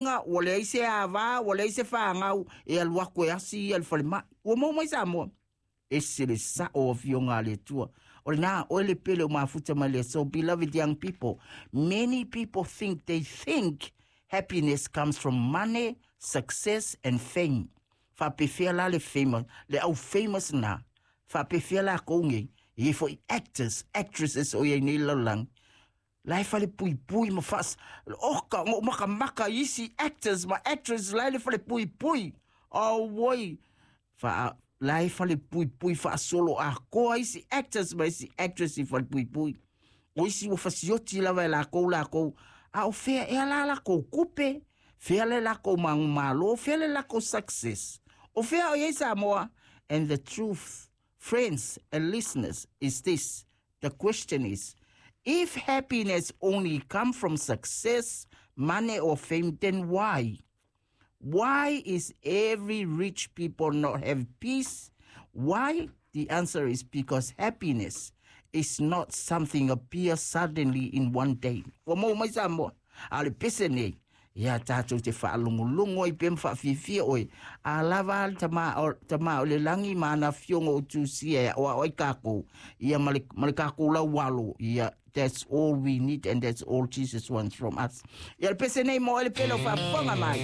Ua leai se ava, ua leai se fanau e alu atu e asi ia le falemai. Ua maua mai Samoa. Ese le sao o afioga a le Atua. O lena, oe le pele o mafuta mai le aso. Beloved young people, many people think they think happiness comes from money, success and fame. Faapefea la le famous, le au famous na. Faapefea lakou nei, e i ai foi actors, actresses o i ai nei i le lalolagi. La e falepuipui ma faas... Oka, na ou makamaka i isi actors ma actresses la e le falepuipui. Auoi! Faa, la e falepuipui faasolo atoa isi actors ma isi actress i falepuipui. O isi ua fasioti lava e lakou lakou, a o fea ea la lakou tupe? Fea le lakou manumalo? Fea le lakou success? O fea o i ai Samoa? And the truth, friends and listeners, is this. The question is, if happiness only come from success, money or fame, then why? Why is every rich people not have peace? Why? The answer is because happiness is not something appear suddenly in one day. Ua maua mai Samoa. A o le pese nei, ia tatou te faalogologo ai pea ma faafiafia oe, a lava le tama, o, tama o le lagi ma ana afioga o tusia e aoao ai kākou, ia ma le, ma le kākou laualo, ia, that's all we need and that's all Jesus wants from us. Ia le pese nei mo oe le pele o faafofoga mai.